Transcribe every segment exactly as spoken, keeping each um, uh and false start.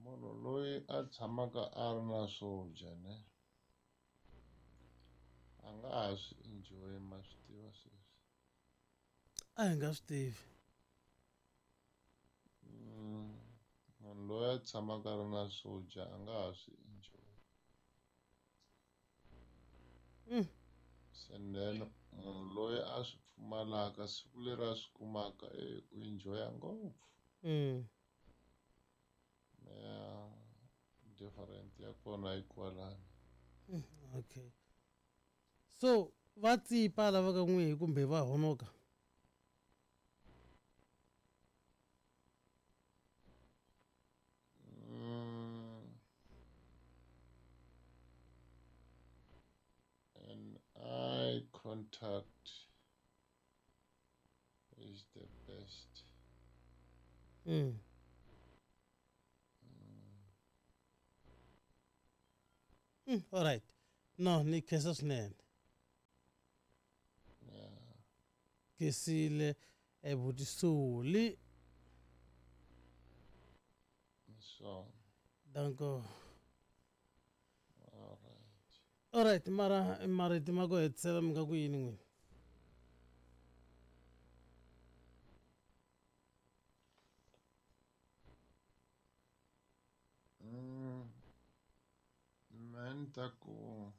Munhu loyi a tshamaka a ri na swo dya ne a nga ha swi enjoy ma swi tiva sweswi. A hi nga swi tivi. Mm, munhu loyi a tshamaka a ri na swo dya a nga ha swi enjoy. Mm. And then munhu loyi a swi pfumalaka siku leri a swi kumaka e u enjoya ngopfu. Mm. Ya different ya kona yi kwalano. Mm, okay. So va tsipa lava ka n'wihi kumbe va honoka? Mm. An eye contact is the best. Mm. Mm, all right. No, ni khensa swinene. Yeah. Khensile ebutisoli. So. Danko. All right. All right, mara marito ma ku hetisela mi nga ku yini n'wina? Mm. Mehe ni ta ku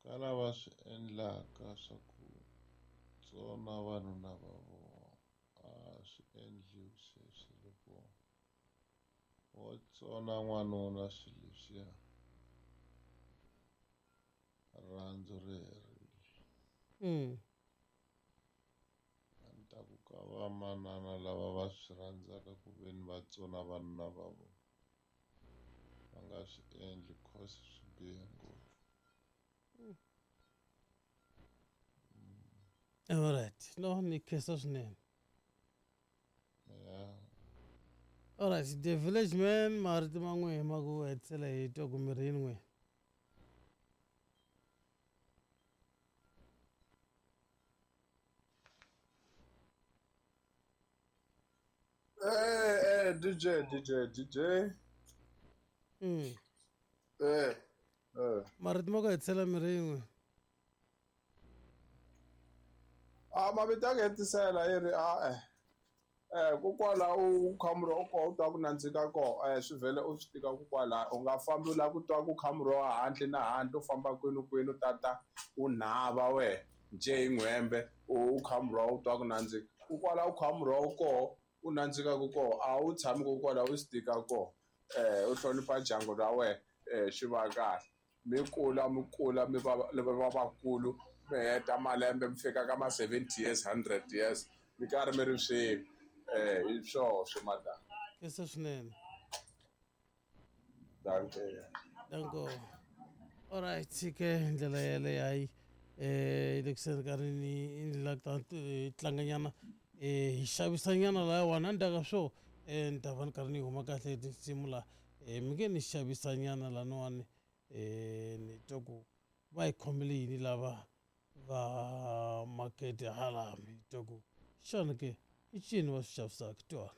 ka lava swi endlaka swa ku tsona vanhu lava vo a swi endliwi sweswi loko wo tsona n'wanuna swilo leswiya rirhandzu ri herile. Mm. A ni ta ku ka vamanana lava va swi rhandzaka ku ve ni va tsona vanuna va vona va nga swi endli cause swi bihe ngopfu. All right. No, ni khensa swinene. Yeah. All right, the village man marito ma n'wihi ma ku hetisela hi twa ku mi ri yini n'wina? Eh, eh, D J, D J, D J. Mm. Eh, eh. Marito ma ku hetisela mi ri yini n'wina? Ah, mavito ya ku hetisela yi ri a eh. Eh, kokwala u khamuro u koho u twa ku nandzika koho, eh, swi vhele u swi tika kokwala u nga fambi u lava ku twa ku khamuro wa handle na handle u famba kwini kwini u tata u nhava wehe njhe hi n'hwembe u khamuro u twa ku nandzika. Kokwala u khamuro u koho u nandzikaka koho a wu tshami kokwala u swi tika koho. Eh, u hlonipha ndyangu ra wena, eh, swi va kahle. Mi kula mi kula mi va va vakulu mi heta malembe mi fika ka ma seventy years, hundred years mi karhi mi ri swin'we. Eh, hi swoho swi madam. Khensa swinene. Dankie. Danko. All right, ke ndlela yeleyo hayi eh le kuseni ka ri ni la ta tlanganyana eh hi xavisanyana lahawani a ndzhaku ka swo eh ni ta va ni karhi ni huma kahle tinsimu la eh mi nge ni xavisanyana laniwani eh ni twa ku va hi khomele yini lava va makete hala mi twa ku xana ke i ncini va swi xavisaka twana.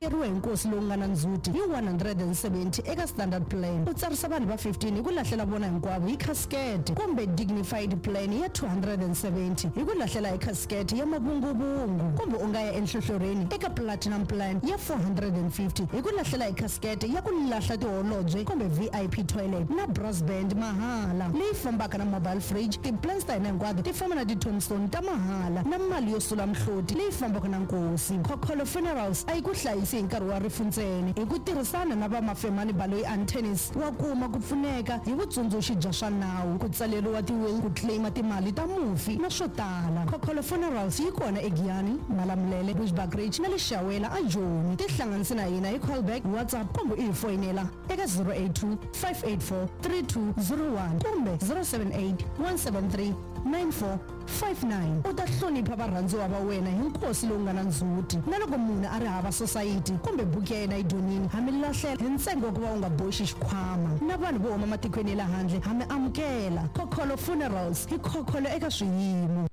Eriwe hi nkosi lowu nga na ndzhuti hi one hundred and seventy eka standard plan. U tsarisa vanhu va fifteen hi ku lahlela vona hinkwavo hi casket kumbe dignified plan ya two hundred and seventy hi ku lahlela hi casket ya mavunguvungu, kumbe u nga ya enhlohlorhini eka platinum plan ya four hundred and fifty hi ku lahlela hi casket ya ku lahla tiholobye kumbe V I P toilet na brass band mahala leyi fambaka na mobile fridge. Ti-plans ta hina hinkwato ti famba na ti-tombstone ta mahala na mali yo sula mihloti leyi fambaka na nkosi. Khokholo Funerals a yi ku hlayisi hi nkarhi wa rifu ntsena. Hi ku tirhisana na va Mafemani Baloyi and Tennis wa kuma ku pfuneka hi vutsundzuxi bya swa nawu, ku tsaleriwa ti-will, ku claima timali ta mufi na swo tala. Khokholo Funerals yi kona eGiyani, Malamulele, Bushbuckridge na le Shawela a Joni. Tihlanganise na hina hi callback, WhatsApp kumbe u hi foyinela eka zero eight two, five eight four, three two zero one kumbe zero seven eight, one seven three, nine four five nine. U ta hlonipha varhandziwa va wena hi nkosi lowu nga na ndzhuti. Na loko munhu a ri hava sosayiti kumbe buku ya yena yi dyonile, ha mi lahlela hi ntsengo wa ku va u nga boxi xikhwama. Na vanhu vo huma matikweni ya le handle ha mi amukela. Khokholo Funerals hi khokholo eka swiyimo.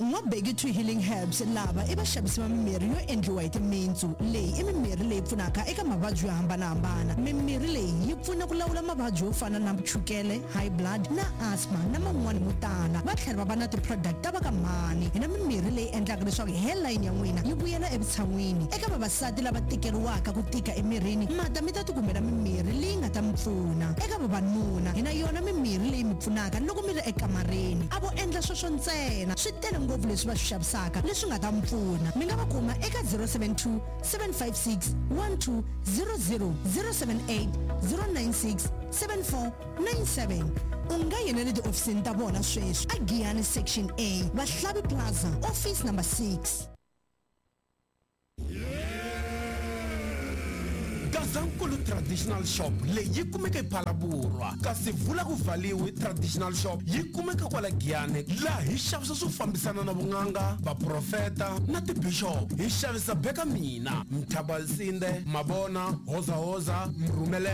N'wabeki two Healing Herbs lava i vaxavisi va mimirhi yo endliwa hi timintsu. Leyi i mimirhi leyi pfunaka eka mavabyi yo hambanahambana. Mimirhi leyi yi pfuna ku lawula mavabyi yo fana na chukele, high blood na asthma na man'wani mo tala. Va tlhela va va na ti-product ta va ka mhani. Hi na mimirhi leyi endlaka leswaku hairline ya n'wina yi vuyela evutshan'wini. Eka vavasati lava tikeriwaka ku tika emirini, mata mi ta tikumela mimirhi leyi nga ta mi pfuna. Eka vavanuna, hi na yona mimirhi leyi mi pfunaka loko mi ri ekamareni. A vo endla sweswo ntsena, swi tele ngopfu leswi va swi xavisaka leswi nga ta mi pfuna. Mi nga va kuma eka zero seven two, seven five six, one two zero zero, zero seven eight, zero nine six, seven four nine seven. U nga yena le tiofisini ta vona sweswi a Giyani Section A, Vahlavi Plaza, office number six. Gazankulu Traditional Shop leyi yi kumeka ePhalaborwa, kasi vula ku vhaliwe Traditional Shop yi kumeka kwala Giyani, laha hi xavisa swo fambisana na vun'anga, vaprofeta na tibishop. Hi xavisa beka mina, Mthabalsinde, Mabona, Hozahoza, Mrhumele.